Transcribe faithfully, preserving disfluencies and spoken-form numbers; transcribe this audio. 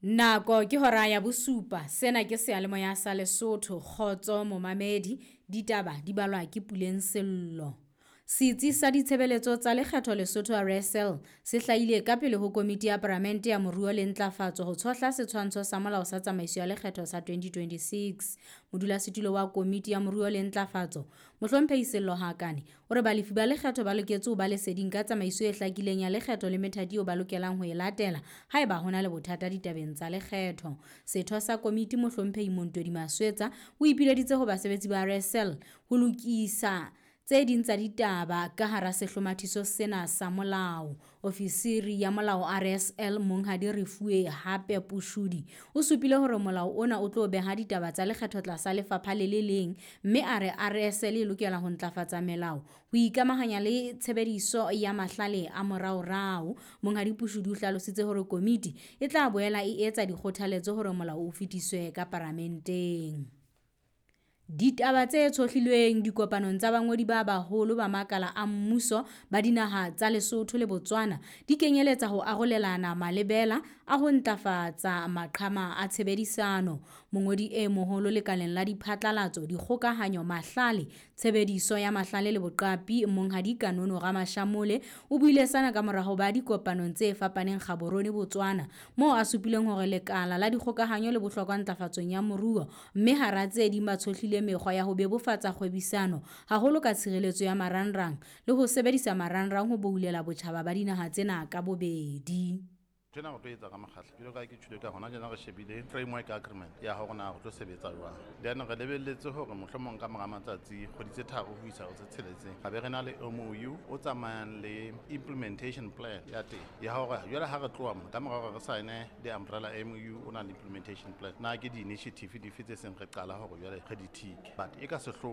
Nako ke hora ya bosupa. Sena ke seyalemoya sa Lesotho. Kgotso momamedi. Ditaba di balwa ke Puleng Sello. Setsi sa ditshebeletso tsa lekgetho Lesotho R S L se hlahile ka pele ho komiti ya Palamente ya Moruo le Ntlafatso ho tshohla setshwantsho sa molao sa tsamaiso ya lekgetho sa twenty twenty-six. Modulasetulo wa komiti ya Moruo le Ntlafatso, Mohlomphehi Sello Hakane, o re balefi ba lekgetho ba loketse ho ba leseding ka tsamaiso e hlakileng ya lekgetho le methati eo ba lokelang ho e latela haeba hona le bothata ditabeng tsa lekgetho. Setho sa komiti Mohlomphehi Montodi Maswetsa o ipileditse ho basebetsi ba R S L ho lokisa tse ding tsa ditaba ka hara sehlomathiso sena sa molao. Ofisiri ya molao R S L Monghadi Refuwe Hape Pushudi o supile hore molao ona o tlo beha ditaba tsa lekgetho tlasa lefapha le le leng, mme a re R S L e lokela ho ntlafatsa melao ho ikamahanya le tshebediso ya mahlale a moraorao. Monghadi Pushudi o hlalositse hore komiti e tla boela e etsa dikgothaletso hore molao o fetiswe ka paramenteng. Ditaba tse tshohlilweng dikopanong tsa bangodi ba baholo ba makala a mmuso ba dinaha tsa Lesotho le Botswana di kenyeletsa ho arolelana malebela a ho ntlafatsa maqhama a tshebedisano. Mongodi e moholo lekaleng la diphatlalatso, dikgokahanyo, mahlale, tshebediso ya mahlale le boqapi Monghadi Kanono Ramashamole o buile sena ka mora ho ba dikopanong tse fapaneng Gaborone, Botswana, moo a supileng hore lekala la dikgokahanyo le bohlokwa ntlafatsong ya moruo, mme hara tse ding ba tshohlile mekgwa ya ho bebofatsa kgwebisano haholo ka tshireletso ya marangrang le ho sebedisa marangrang ho boulela botjhaba ba dinaha tsena ka bobedi. Nthwena re tlo etsa ka mokgahlo jwalo ka ke tjhule ka hona tjena, re shebile framework agreement ya hore na re tlo sebetsa jwang. Then re lebelletse hore mohlomong ka mora matsatsi, kgwedi tse tharo ho isa ho tse tsheletseng, ra be re na le M O U o tsamayang le implementation plan ya teng ya hore jwale ha re tloha mo ka mora hore re sign the umbrella M O U o na le implementation plan, na ke di-initiative dife tse seng re qala hore jwale re di tick. But e ka sehloohong